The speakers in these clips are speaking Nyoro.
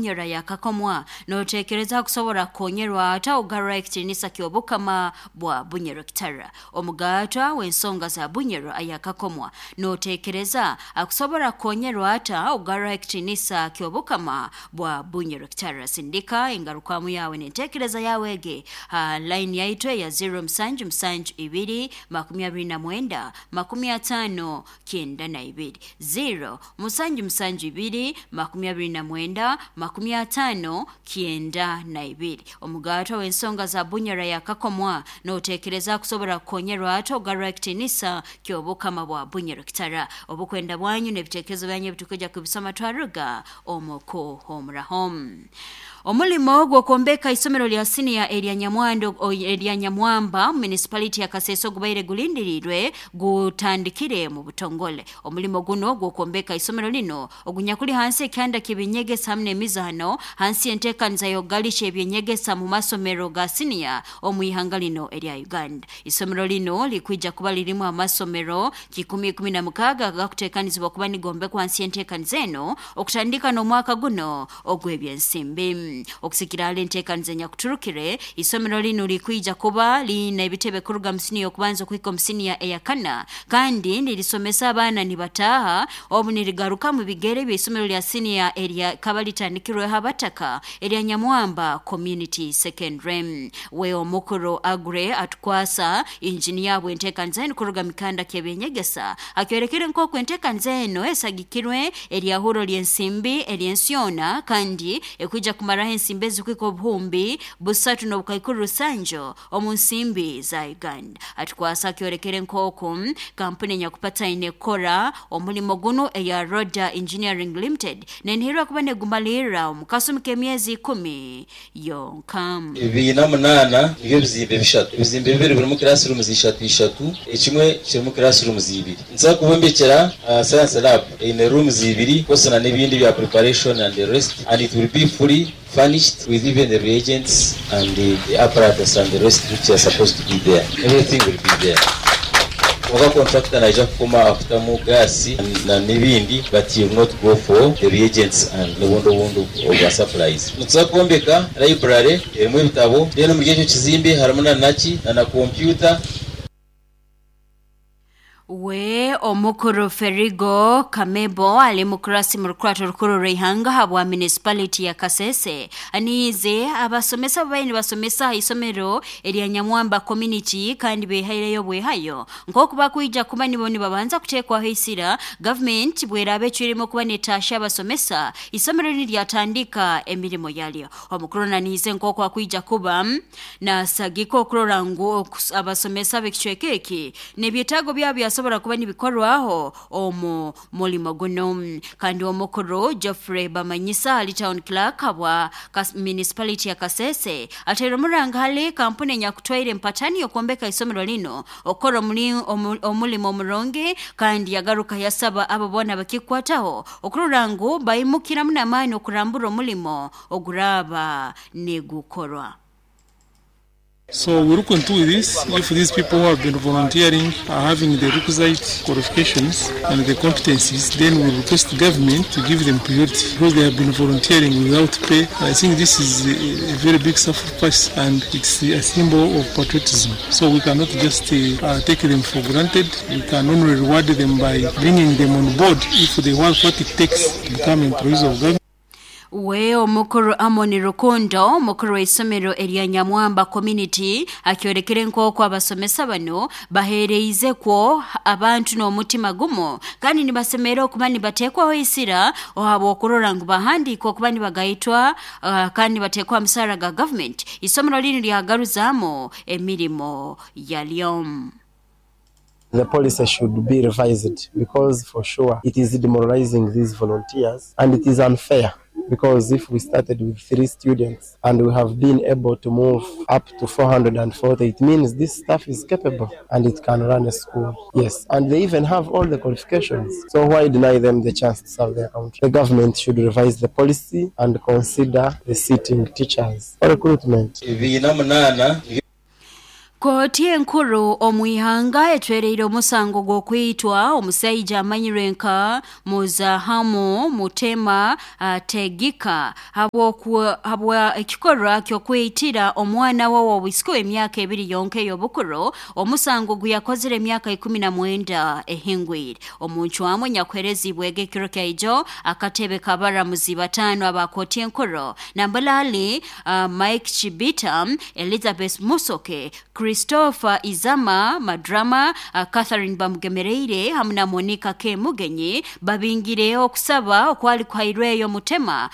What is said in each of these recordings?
Bunyoro yakakomwa, notekereza kusobora kukonyerwa ata ogarra ekitiinisa ky'obukama bwa Bunyoro Kitara? Omugaatwa w'ensonga za Bunyoro ayakakomwa, notekereza akusobora kukonyerwa ata ogarra ekitiinisa ky'obukama bwa Bunyoro Kitara? Sindika engarukamu yawe n'entekereza yawe ege ha line yaitu eya 0772 29 50 92, 0 772 29 50 92. Omugaatwa w'ensonga za Bunyoro yakakomwa, notekereza kusobora kukonyerwa ata ogarra ekitiinisa ky'obukama bwa Bunyoro Kitara? Obukwenda bwanyu n'ebitekerezo byanyu ebitukujja kubisoma twaruga omu kuhumuraho. Omulimo gw'okwombeka isomero lya siniya erya Nyamwando erya Nyamwamba mu municipality ya Kasese ogubaire gulindiriirwe gutandikire mu butongole. Omulimo guno gw'okwombeka isomero lino ogunyakuli hansi ekyanda ky'ebyenyegesa hamu n'emizaano hansi y'enteekaniza y'okugalisha ebyenyegesa mu masomero ga siniya omu ihanga lino erya Uganda. Isomero lino likwija kuba lirimu amasomero 116 agakuteekanizibwa kuba nigombekwa hansi y'enteekaniza eno okutandika n'omwaka guno ogw'ebyensimbi. Okusikira hali enteekaniza enyakuturukire, isomero linu likwija kuba liine ebitebe kuruga mu siniya okubanza okuhika omu siniya eyakana, kandi nirisomesa abaana nibataaha obu nirigaruka mu bigere by'isomero lya siniya eryakaba litandikirweho abataka erya Nyamwamba Community Secondary. We omukuru Agre Atukwasa, injiniya bw'enteekaniza enu kuruga mikanda ky'ebyenyegesa, akyorekere nk'oku enteekaniza eno esagikirwe eryahuro ly'ensimbi ery'ensi yoona kandi ekwija kumaraho ensimbi ezikuhika 3,700 omu nsimbi za Uganda. Atukwasa akyorekere nk'oku kampuni enyakupataine kukora omulimo gunu eya Roda Engineering Limited nenihirwa kuba negumalirra omu kasumi k'emyezi 10 yonka. 28 nibyo bizimbe bishatu. Ebizimbe bibiri birimu classrooms ishatu ishatu, ekimwe kirimu classrooms ibiri. Nituza kubombekera science lab eine rooms ibiri kwose na n'ebindi bya preparation and the rest, and it will be fully furnished with even the reagents and the apparatus and the rest which are supposed to be there. Everything will be there. Kwonka contractor naija kukoma aha kutamu gas na n'ebindi, but he will not go for the reagents and n'obundi obundi obwa supplies. Nituza kwombeka library erimu ebitabo, then omuri ekyo kizimbe harimu na naki na na computer. We omukuru Ferigo Kamebo ali mukurasi mu rukurato rukuru rw'ihanga habwa municipality ya Kasese aniize abasomesa babaire nibasomesa aha isomero erya Nyamwamba Community kandi behaireyo bwehayo nk'oku bakwija kuba nibo nibabanza kuteekwaho isira gavumenti bweraaba ecwiremu okuba netaasha abasomesa isomero niryatandika emirimo yaryo. Omukuru naniize nk'oku akwija kuba nasagika okurora ngu abasomesa b'ekicweka eki n'ebyetaago byabo byasobora kuba nibikorwaho omu mulimo guno. Kandi omukuru Geoffrey Bamanyisa ali town clerk habwa municipality ya Kasese ataire omuranga hali kampuni enyakutwaire empatani y'okwombeka isomero lino okukora omulimo omurungi, kandi yagaruka yasaba abo boona bakikwataho okurora ngu baimukiramu n'amaani okurambura omulimo oguraaba nigukorwa. So we look into this, if these people who have been volunteering are having the requisite qualifications and the competencies, then we request the government to give them priority because they have been volunteering without pay. And I think this is a very big sacrifice and it's a symbol of patriotism. So we cannot just take them for granted. We can only reward them by bringing them on board if they want what it takes to become employees of government. We omukuru Amoni Rukundo, omukuru w'isomero erya Nyamwamba Community, akyorekere nk'oku abasomesa bano baheereize kwo abantu n'omutima gumu kandi nibasemera okuba nibateekwaho isira ohabw'okurora ngu bahandiika okuba nibagaitwa kandi nibateekwa musaara ga government. Isomero linu lyagaruzaamu emirimo yaryo. The policy should be revised because for sure it is demoralizing these volunteers and it is unfair because if we started with 3 students and we have been able to move up to 440, it means this staff is capable and it can run a school. Yes, and they even have all the qualifications. So why deny them the chance to serve their country? The government should revise the policy and consider the sitting teachers for recruitment. 28. Kooti enkuru omu ihanga etwereire omusango gw'okwitwa omusaija amanyirwe nka Muzahamu Mutema Tegika habwa ekikorwa ky'okwitira omwana we w'obwisiki emyaka 2 yonka ey'obukuru, omusango guyakozire emyaka 19 ehingwire. Omuncwamu nyakuherezibwe ekiro kyaijo akatebe kabaramuzi 5 aba kooti enkuru Nambalali, Mike Chibita, Elizabeth Musoke, Christopher Izama Madrama, Catherine Bamugemereire hamwe na Monica K Mugenyi babingire okusaba okwali kuhairweyo Mutema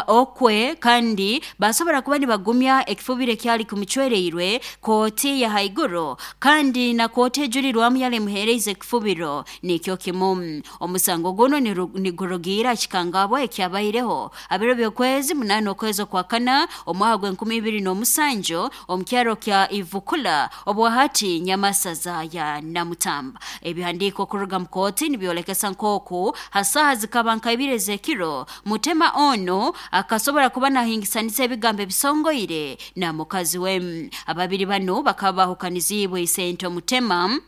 okwe kandi basobora kuba nibagumya ekifubire kyali kumucwereirwe kooti ya haiguru kandi na kooti ejurirwamu yali muhereize ekifubiro nikyo kimu. Omusango guno nigurugira kikangabwa ekyabaireho abiro by'okwezi 8 okwezi kwa kana omwaka gwa 2007 omukyaro kya Ivukula obwahati Nyamasaza ya Namutamba. Ebihandiko kuruga mukoti nibyolekesa nkoku hasaha zikaba nkaibire zekiro Mutema ono akasobora kuba nahingisanisa ebigambo ebisongoire na mukazi we. Ababiri bano bakaba bahukanizibwe isento Mutema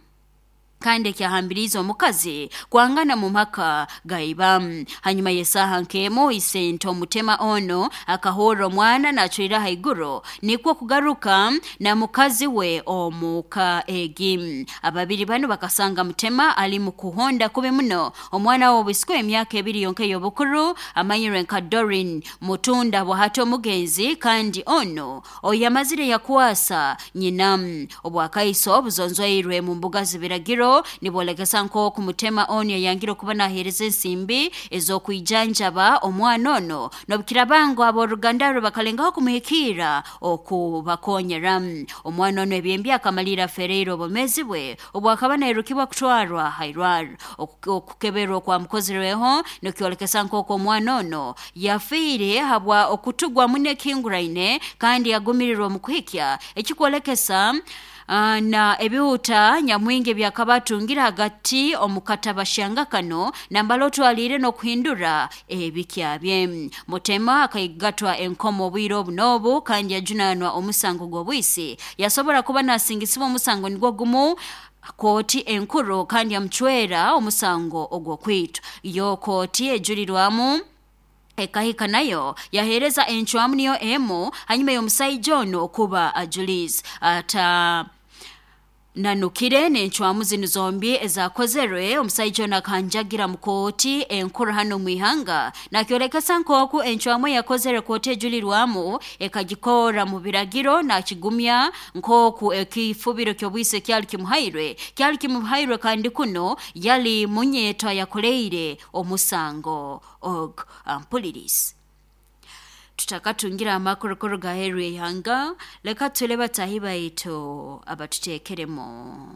kandi ekyahambiriza omukazi kwangana mu maka gaiba. Hanyuma yesaha nkemo isento Mutema ono akahora omwana nachwira haiguru nikwo kugaruka na mukazi we omuka egi. Ababiri bano bakasanga Mutema ali mu kuhonda kubi muno omwana w'obwisiki emyaka 2 yonka ey'obukuru amanyirwe nka Dorin Mutunda bwahato omugenzi kandi ono oyamazire yakwasa nyina. Obwakaiso obuzonzoirwe mu mbuga zibiragiro nibolekesa nkoku Mutema ono yayangire okuba nahereza ensimbi ez'okwijanjaba omwana ono nobukirabango ab'oruganda rwe bakalengaho kumuhikira okubakonyera. Omwana ono ebyembi akamalira afereire obumezi bwe obwakaba nairukibwa kutwarwa hairwaro. Okukeberwa okwamukozirweho nikyolekesa nkoku omwana ono yafiire habwa okutugwa muno ekihinguraine kandi yagumirirwa omu kuhikya ekikwolekesa na ebihuta nyamwingi byakabatungira hagati omukatabashanga kano nambalo twalire n'okuhindura ebikyabye. Mutema akaigatwa enkomo obwire obunobu kandi yajunanwa omusango gw'obwisi yasobora kuba nasingisibwa omusango nigwo gumu kooti enkuru kandi yamucwera omusango ogw'okwitwa. Yo kooti ejurirwamu ekahika nayo yahereza encwamu niyo emu hanyuma y'omusaija ono okuba ajulizi ata nanukire n'encwamu zinu zombi ezakozerwe. Omusaija ono akanjagira mu kooti enkuru hano mu ihanga nakyolekesa nkoku encwamu yakozere kooti ejulirwamu ekagikora mu biragiro nakigumya nkoku ekifubiro ky'obwise kyali kimuhairwe kandi kuno yali munyeto yakoleire omusango og ampulirisi. Tutakatungira amakuru gaheru ihanga leka tule batahi baitu abatutekeremo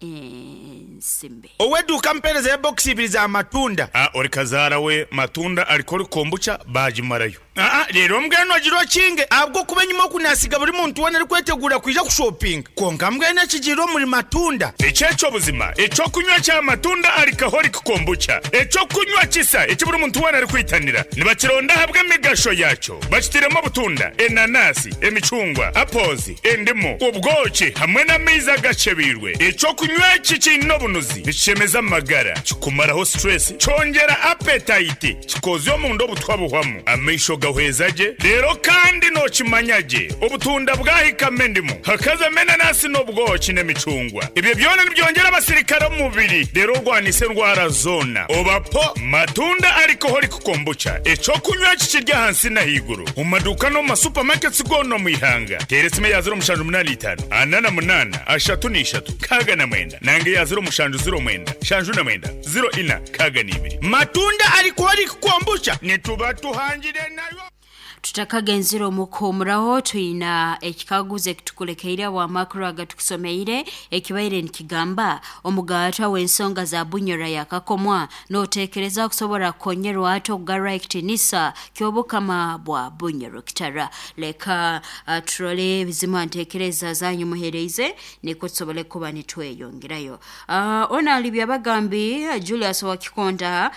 ensimbi. Oweduka mpereza ya box ibiri za matunda. Ori kazara we matunda alikori kombucha bajimarayo. Rero mbweno agiro kinge abwo kuba nyuma kunasiga buri muntu wona ari kwetegura kwija kushopping. Konka mbweno kigiro muri matunda. Echecho buzima, echo kunywa cha matunda alikahori kombucha. Echo kunywa kisa eki buri muntu wona ari kwitanira. Nibakironda habwe emigasho yacho. Bakitiremo butunda, enanasi, emicungwa, apozi, endimu, ubwoki hamwe n'amaizi agacebirwe. Echo kunywa iki n'obunuzi bishemeza amagara, kikumaraho stress, cyongera appetite, kikozyo mu ndo butwabuhwamu. Amaisho gahwezaje rero kandi nokimanyage obutunda bwahikame ndimu hakaza menanasi n'obwoki n'emicungwa. Ibyo byona nibyongera abasirikare mu mubiri rero rwanise ndwara zona. Obapo matunda alcoholic kombucha eco kunywa kikirya hansi na higuru mu maduka no mu supermarkets gono mu ihanga. Teresime ya 085 48 33 69 nange ya 070 09 69 04 Matunda alcoholic kombucha nituba tuhangire nayo. Tutakagenzira omukumuraho twina ekikaguzo ekitukulekeire wa makuru agatukusomeire ekibaire nikigamba omugaatwa w'ensonga za Bunyoro yakakomwa notekereza kusobora kukonyerwa ate okugarra ekitinisa ky'obukama bwa Bunyoro kitara. Leka turole bizima ntekereza zanyu muhereize niko tusobole kuba nitweyongerayo. Ona alibya bagambi Julius Wakikonda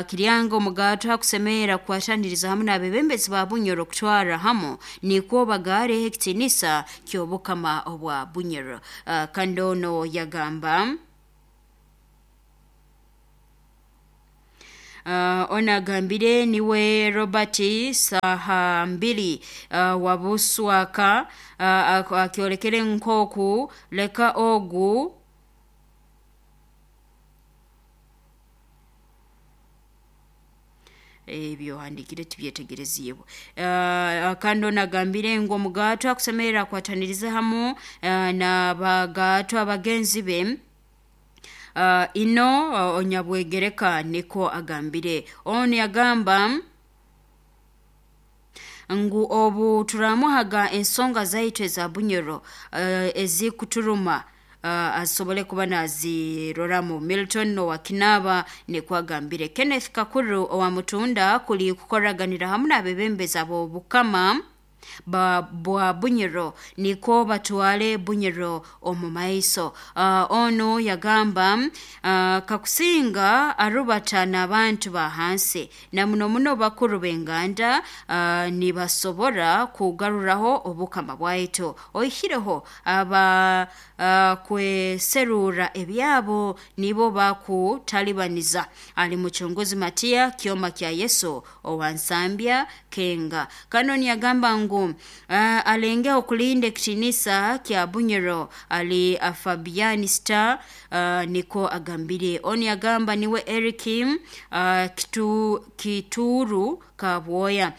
Kiryango omugaatwa kusemera kwataniriza hamwe n'abebembezi ba ba Bunyoro kutwara hamu nikwo bagare ekitinisa ky'obukama obwa Bunyoro. Kandi ono yagamba ono agambire niwe Robert Sahambili wabuswaka akyolekere nkoku leka ogu ebyohandikire tibyetegereziibwe. Kandi ono agambire ngu omugaatwa akusemerera akwatanirize hamu n'abagaatwa bagenzi be ino onyabwegereka niko agambire. Ono yagamba ngu obu turamuhaga ensonga zaitu eza Bunyoro ezikuturuma asobole kuba naziroramu. Milton owakinaba nikwo agambire. Kenneth Kakuru owa Mutunda kuli kukoraganira hamu n'abebembezi ab'obukama bwa Bunyoro niko batwale Bunyoro omu maiso. Ono yagamba kakusinga arubata n'abantu ba hansi na muno muno bakuru b'enganda nibasobora kugaruraho obukama bwaitu oihireho aba kweserura ebyabo nibo bakutalibaniza. Ali muchunguzi Matia Kioma kya Yesu owansambya Kenga. Kanoni yagamba ngu alenge okulinda ekitinisa kya Bunyoro ali Fabiani Star niko agambire. Oni yagamba niwe Eric Kituru Kabwoya.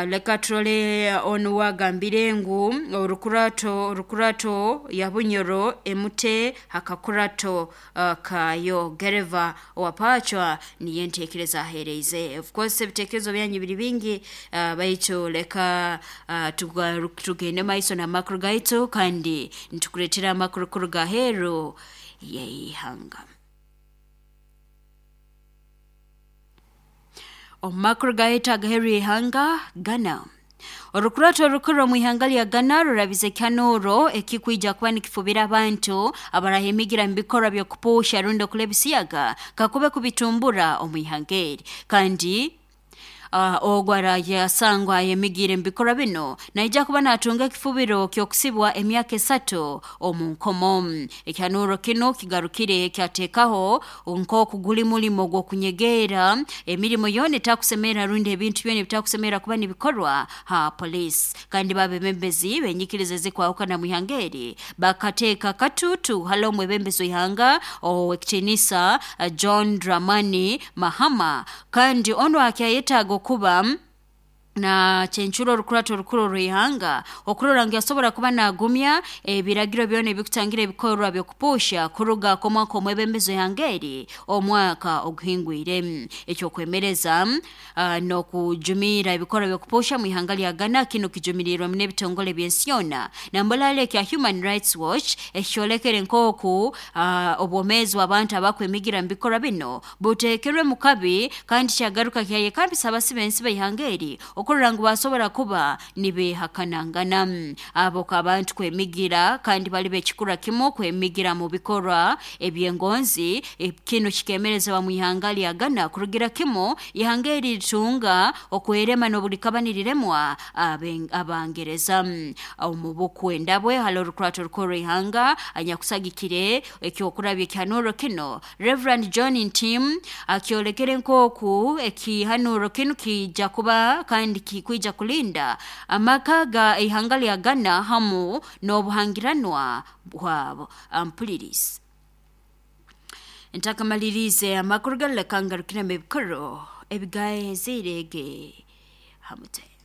Leka turole onu wagambire ngu orukurato ya Bunyoro emute hakakurato kayo gereva wapachwa niye ntekereza ahereize. Of course ebitekerezo byanyu biri bingi, baitu leka tugende maiso na makuru gaitu kandi nitukuretera amakuru kuruga heru yeihanga. Omakuru gaitu agaheru yeihanga Ghana. Orukurato orukuru omu ihanga lya Ghana rurabize kyanuro ekikwija kuba nikifubira abantu abarahemigira mu bikorwa by'okupusha rundi okulebisiyaga kakube kubitumbura omu ihanga eri. Kandi ogwo yasangwa ayemigire mu bikorwa bino naija kuba natunga ekifubiro ky'okusibwa emyaka 3 omu nkomo. Ekyanuro kino kigarukire kyatekaho nk'oku guli mulimo gw'okunyegeera emirimo yoona etakusemera rundi ebintu byona ebitakusemera kuba nibikorwa ha police. Kandi babebembezi benyikiriza ezikwahukana mu ihanga eri bakateeka katutu hali omwebembezi w'ihanga ow'ekitinisa John Dramani Mahama. Kandi ono akyayetaaga kuba na chenchuro orukurato orukuru rw'ihanga okurora ngu yasobora kuba nagumya ebiragiro byona ebikutangira ebikorwa by'okupusha kuruga komwaka omwebembezi w'ihanga eri omwaka oguhingwire. Ekyokwemereza n'okujumira ebikorwa by'okupusha mu ihanga lya Ghana kino kijumirirwe n'ebitongole by'ensi yona nambolale kya Human Rights Watch ekyolekere nk'oku obwomeezi bw'abantu abakwemigira mu bikorwa bino buteekerwe mu kabi kandi kyagaruka kyayekambisa abasi b'ensi b'ihanga eri okurora ngu basobora kuba nibehakanangana. Abo abantu kwemigira kandi bali bekikura kimu kwemigira mu bikorwa ebyengonzi. Kino kikemereza mu ihanga lya Ghana kurugira kimu ihanga eri litunga okwerema n'obulikabaniriremwa abangereza. Omu bukwenda bwe hali orukurato rukuru ihanga anyakusagikire ekyokurabya ekyanuro kino Reverend John Ntim akyolekere nk'oku ekihanuro kino kijja kuba kandi kikwija kulinda amaka ga ihanga lya Ghana hamu n'obuhangiranwa bwabo. Ampulirize ntakamalirize amakuru galeka ngarukire mu bikoro ebigahezirege hamute.